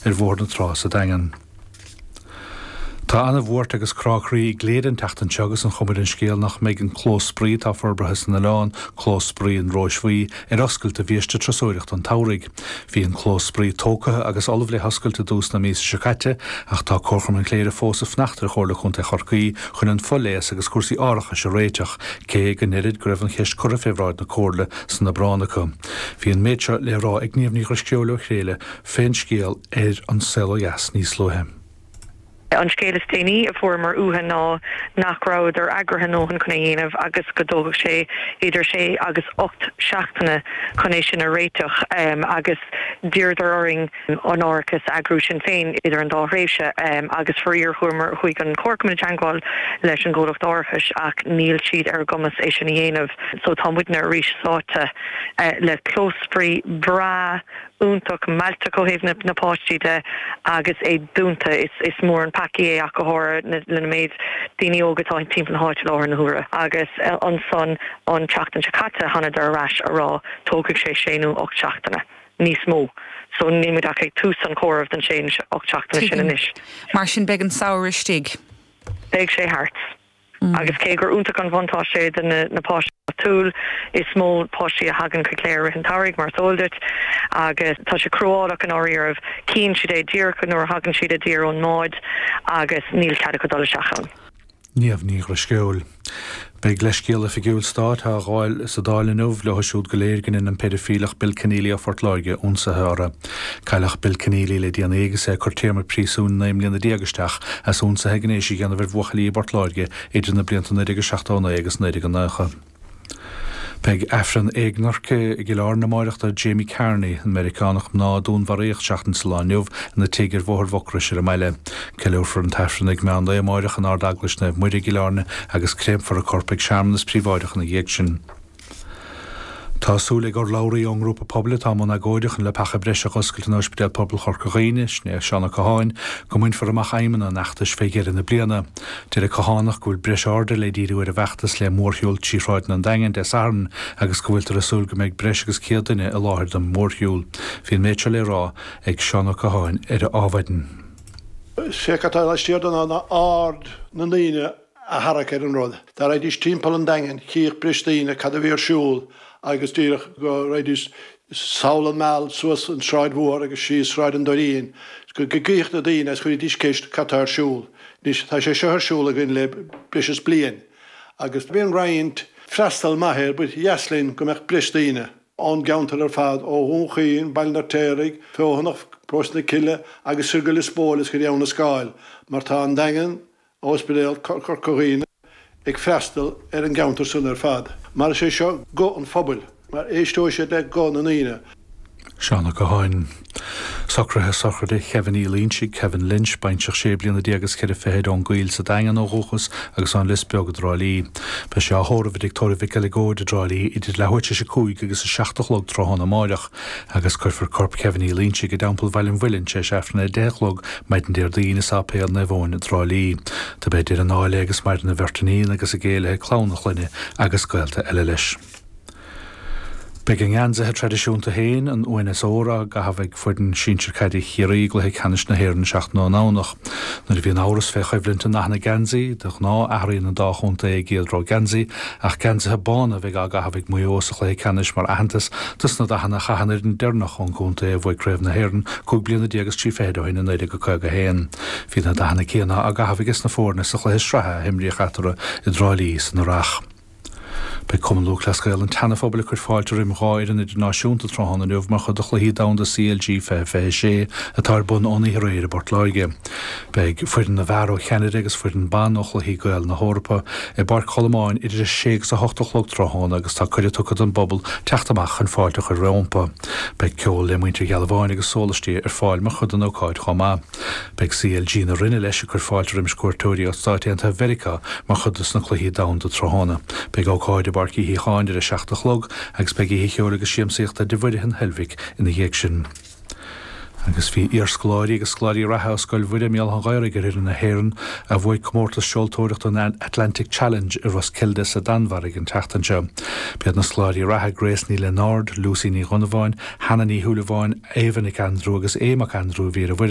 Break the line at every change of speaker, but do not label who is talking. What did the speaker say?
ar Bhóthar na Trá sa Daingean. Tá ana-bhuairt agus crá croí i gCléire an tseachtain seo agus an chuma ar an scéal nach mbeidh an clós spraoi atá forbartha san oileán, Clós Spraoi an Róis Bhuí, ar oscailt do bhiaiste turasóireachta an tsamhraidh. Bhí an clós spraoi tógtha agus ullamh le hoscailt i dtús na míosa seo caite ach tá Comharchumann Chléire fós ag fanacht ar Chomhairle Contae Chorcaí chun an fo-léas agus cúrsaí árachais a réiteach, cé go ndeirid go raibh an cheist curtha fé bhráid na Comhairle san Aibreán acu. Bhí an méid seo le rá ag Niamh Ní Dhrisceoil ó Chléire fén scéal ar An Saol Ó Dheas níos luaithe.
An scéal is déanaí a fuaireamar uathu ná nach rabhadar eagraithe a ndóthain chun é a dhéanamh agus go dtógfadh sé idir sé agus 8 seachtaine chun é sin a réiteach agus d'iarradar orainn an árachas a eagrú sinn féin idir an dá thréimhse agus faraor chuamar, chuaigh an Comharchumann i dteangmháil leis an gcomhlacht árachais ach níl siad ar a gcumas é sin a dhéanamh so tá muidne arís sáite le clós spraoi breá iontach mealltach ó thaobh na páistí de agus é dúnta. Is mór an peacaí é ach go háirithe lena méid daoine óga atá timpeall na háite i láthair na huaire. Agus ansan an tseachtain seo caite thánadar ar ais a rá tógfaidh sé sé nó 8 seachtaine níos mó. So níl muid ach ag tús an chomhairimh den sé nó 8 seachtaine sin
Tuigim.
anois.
Mar sin beidh an samhradh istigh.
Beidh sé thart. Agus cé gur iontach an bhuntáiste é do na páistí áitiúil, is mó páistí a thagann chuig Cléire i rith an tsamhraidh, mar is eol duit, agus tá sé cruálach i ndáiríribh. Cíonn siad é díreach nuair a thagann siad i dtír ón mbád agus níl cead acu dul isteach ann.
Niamh Ní Dhrisceoil. Beidh leithscéal oifigiúil stáit á ghabháil sa Dáil inniu leo siúd go léir go ndein an péidifileach Bill Kenneally ó Phort Láirge ionsaithe orthu. Cailleadh Bill Kenneally le déanaí agus é ag cur téarma príosúin 19 mbliana isteach as ionsaithe gnéis a dhéanamh ar bhuachaillí i bPort Láirge idir na blianta 1979 agus 1990. Beidh Aifreann éagnairce i gCill Airne amáireach do Jamie Carney, an Meiriceánach mná a dúnmharaíodh seachtain sa lá inniu ina tigh ar Bhóthar Mhucrois ar an mbaile. Ceiliúrfar an tAifreann ag meán lae amáireach in Ard-Eaglais Naomh Muire i gCill Airne agus créamfar a corp ag searmanas príobháideach ina dhiaidh sin. Tá súil ag urlabhraí ón ngrúpa pobail atá i mbun agóide chun leapacha breise a dh'oscailt in Ospidéal Pobail Chorca Dhuibhne, sin é Seán Ó Catháin, go mbainfear amach aidhmeanna an fheachtais fé dheireadh na bliana. Deir Ó Cathánach go bhfuil breis airde le díriú ar an bhfeachtas le mórshiúl trí shráideanna an Daingin Dé Sathairn agus go bhfuiltear ag súil go mbeidh breis agus 100 duine i láthair don mhórshiúl. Bhí an méid seo le rá ag Seán Ó Catháin ar Adhmhaidin.
Sé cad tá laistiar de ná aird na ndaoine a tharrac ar an rud. Dá raghaidís timpeall an Daingin chífeadh breis daoine cad a bhí ar siúl agus díreach go raghaidís sall an Meal suas an tSráid Mhór agus síos Sráid an Doirín go gcífeadh na daoine agus chuirfidís ceist cad tá ar siúl. Anois tá sé seo ar siúl againn le breis is bliain agus bíonn roinnt freastal maith air ba dheas linn go mbeadh breis daoine ón gceantar ar fad, ó Dhún Chaoin, Baile an Fheirtéaraigh, Feothanach, Paróiste na Cille agus soir go Lios Póil is go dtí Abha na Scáil mar tá an Daingean Ospidéal Chorca Dhuibhne ag freastal ar an gceantar san ar fad, mar is é seo guth an phobail, mar éisteoidh siad le guth na ndaoine.
Seán Ó Catháin. Socruithe sochraide Kevin Uí Loinsigh, Kevin Lynch, baintreach sé bliana déag is ceithre fichid ón gCoill sa Daingean ó dhúchas agus ón Lios Beag i dTrá Lí. Beidh sé á thórramh i dTigh Tórraimh Mhic Eileagóid i dTrá Lí idir leathuair tar éis a 5 agus a 7 a chlog tráthnóna amáireach. Agus cuirfear corp Kevin Uí Loinsigh i dTeampall Bhaile an Mhuilinn tar éis Aifreann a 10 a chlog maidin Déardaoin i Sáipéal Naomh Eoin i dTrá Lí. Dob é deireadh an áil é agus maireann a bheirt iníon agus a gcéile, clann a chlainne agus gaolta eile leis. Beidh a ngeansaithe traidisiúnta féin, an uain is ór, á gcaitheamh ag foireann sinsir caide Chiarraí i gcluiche ceannais na hÉireann an seachtain ón nDomhnach. Nuair a bhíonn amhras fé choimhlint i ndathanna geansaí, de ghnáth athraíonn an dá chontae a gcéad rogha geansaí, ach geansaithe bána a bheidh á gcaitheamh ag Maigh Eo sa chluiche ceannais mar aitheantas dos na dathanna a chaith an fhoireann deireanach ón gcontae a bhuaigh Craobh na hÉireann 15 bliana is 13 fichid ó shin i 1951. Bhí na dathanna céanna á gcaitheamh aige sna foirne sa chluiche sraithe a himríodh eatarthu i dTrá Lí san earrach. Beidh Cumann Lúthchleas Gael an tSeana-Phobail ag cur fáilte roim 2 fhoireann idirnáisiúnta tráthnóna inniu mar chuid de Chluichí Domhanda CLG 2026 atá ar bun ón oíche aréir i bPort Láirge. Beidh foireann na bhfear ó Cheanada agus foireann ban ó Chluichí Gael na hEorpa i bPáirc Cholmáin idir 6 agus 8 a chlog tráthnóna agus tá cuireadh tugtha don bpobal teacht amach chun fáilte a chur rómpa. Beidh ceol le muintir Ghealbháin agus sólaistí ar fáil mar chuid den ócáid chomh maith. Beidh CLG na Rinne leis ag cur fáilte roimis cuairteoirí ó Stáit Aontaithe Mheiriceá mar chuid dos na Cluichí Domhanda tráthnóna. Beidh ócáid i bPáirc Uí Shíocháin ar 7 a chlog agus beidh oíche cheoil agus siamsaíochta i dTigh Mhuire an Heilbhic ina dhiaidh sin. Agus bhí iarscoláirí agus scoláirí reatha ó Scoil Mhuire i mBéal Átha an Ghaorthaidh ar fhoireann na hÉireann a bhuaigh comórtas seoltóireachta an Atlantic Challenge i Roskilde sa Danmhairg an tseachtain seo. B'iad na scoláirí reatha Grace Ní Lionáird, Lucy Ní Dhonnabháin, Hannah Ní Shúilleabháin, Ava Nic Aindriú agus Aodh Mac Aindriú a bhí ar an bhfoireann.